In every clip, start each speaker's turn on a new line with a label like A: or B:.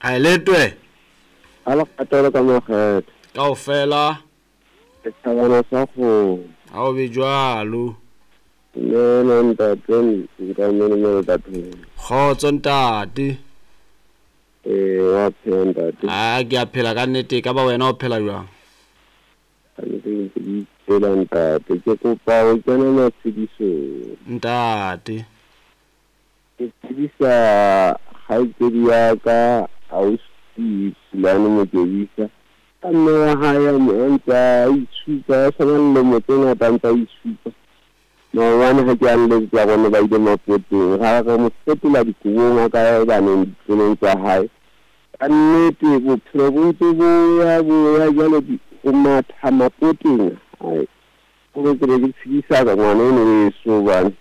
A: A e letwe.
B: A le kgatelo ka makgetho.
A: Kaofela.
B: Setjhabana sa kgomo.
A: Ha o be jwalo.
B: Dumela ntate nkamele bathong.
A: Kgotso ntate.
B: Ee, wa phela ntate.
A: A ke a phela ka nnete e ka ba wena o phela jwang?
B: Kannete ke ntse ke ipela ntate. Ke kopa ho kena matshedisong.
A: Ntate.
B: Ke tsebisa kgaitsedi ya ka ausi Pulane Mokebisa ka mme wa hae a ntse a itshupa a sena lilemo tse ngata a ntse a itshupa. Maobane ha ke a nletsetsa rona ba ile mapoteng ra re mo fetola dikobong a ka ya baneng ditlolong tsa hae. Ka nnete bophelo bo ntse bo ya bo ya jwale ho matha mapoteng ai hore ke be ke tshedisa ka ngwana eno weso hobane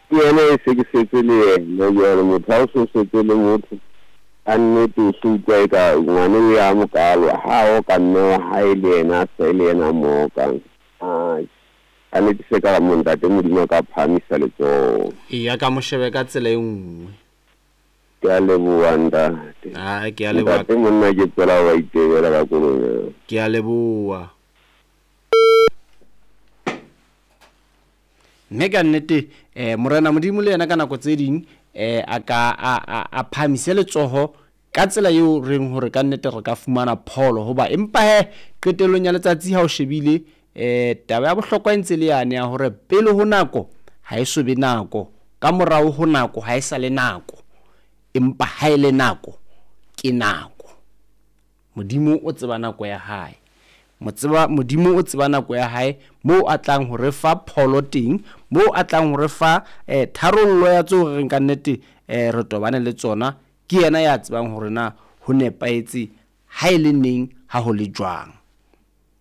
B: ke yena e se ke setse le yena jwale motho ha o so setse le motho ka nnete o so utlwa eka ngwane o ya mokalo ha o ka mme wa hae le yena a sa le yena a mo okang. Ai ka nnete se ka mo ntate Modimo a ka phahamisa letsoho.
A: Eya ka mo shebe ka tsela e nngwe.
B: Ke a leboha ntate.
A: A ke a leboha.
B: Ntate monna ke tswela wa itebela ka koloi.
A: Ke a leboha. Mme ka nnete Morena Modimo le yena ka nako tse ding a ka a phahamise letsoho ka tsela eo reng hore ka nnete re ka fumana pholo hoba empa he qetellong ya letsatsi ha o shebile taba ya bohlokwa e ntse le yane ya hore pele ho nako ha e so be nako, ka morao ho nako ha e sa le nako, empa ha e le nako ke nako. Modimo o tseba nako ya hae. Motseba Modimo o tseba nako ya hae moo a tlang ho re fa pholo teng, moo a tlang ho re fa tharollo ya tseo re reng ka nnete re tobane le tsona. Ke yena ya tsebang hore na ho nepahetse ha e le neng ha ho le jwang.